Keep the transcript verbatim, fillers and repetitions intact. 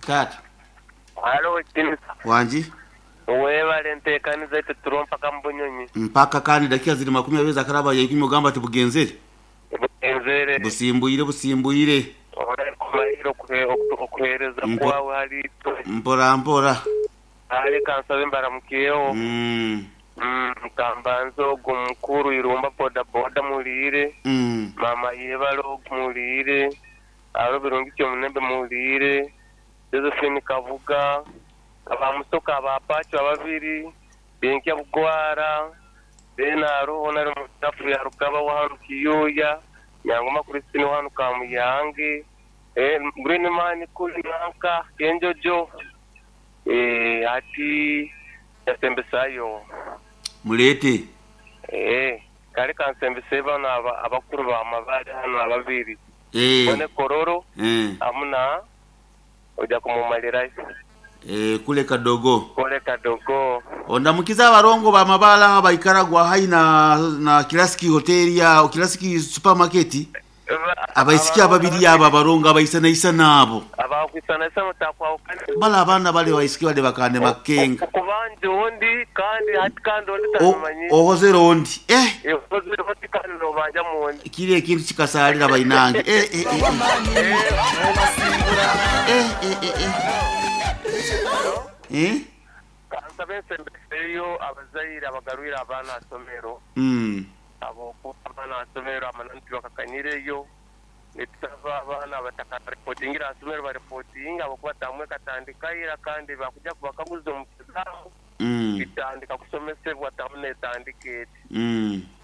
Tata. Halo, Kinisa. Wanji. Webale nteekaniza ite turo mpaka mu Bunyonyi. Mpaka kandi dakika ziri makumi abiri zakaraba ya ikumi, ogamba ati bugenzere. Bugenzere. Busimbuyire, busimbuyire. Kumayiro okuhereza Mpo- kwawe hali itwe. Mpora mpora. Ale kansabe mbaramukiyeho. Mm. Mm, kambanze ogwo mukuru Irumba boda boda muliire. Mm. Mama yebale ogu muliire. Alo Birungi Kyomunembe muliire. Josephine Kavuga. Abamusoka abapacho ababiri. Benkya Bugwara. Then aroho nari mutafu ya Rukaba wahanu Kiyuya. Nyangoma Christine wahanu Kamuyange. Eh, Green Man kuli nanka Kenjojo. Eh, ati yasembesayo. Mulete. Eh, kale kansembese bano aba- abakuru bamabale hano ababiri. Eh. Bone Kororo Eh. amuna ojja kumumalirayo. Eh, kule kadogo. Kole kadogo. Ondamukiza abarongo bamabala baikaragwa hai na na Classic Hotel ya Classic Supermarket. Abaisiki ababiri aba abarongo abaisanaisa nabo. Abakwisanasa mutakwawukana. Bala abaana bale baisiki bale bakande makenga. Kubanja ondi kandi hati kandi ondi O- tamanyi. Ohozere ondi eh. Okozere hati kandi nobanja mundi. Kiri ekintu kikasalira bainange, eh, eh, eh, eh. Eh, eh, eh, eh. Eh? Kansabe nsembeseyo abazaire abagarwire abaana asomero. Mm. Abokuba abaana asomero amananti bakakanyireyo. Nitusaba abaana batakarepotingira asomero barepotinga abakuba tamwe katandikaira kandi bakuja kubakaguza omu kizamu. Mm. Kitandika kusomesebwa tamu netandika eti. Mm.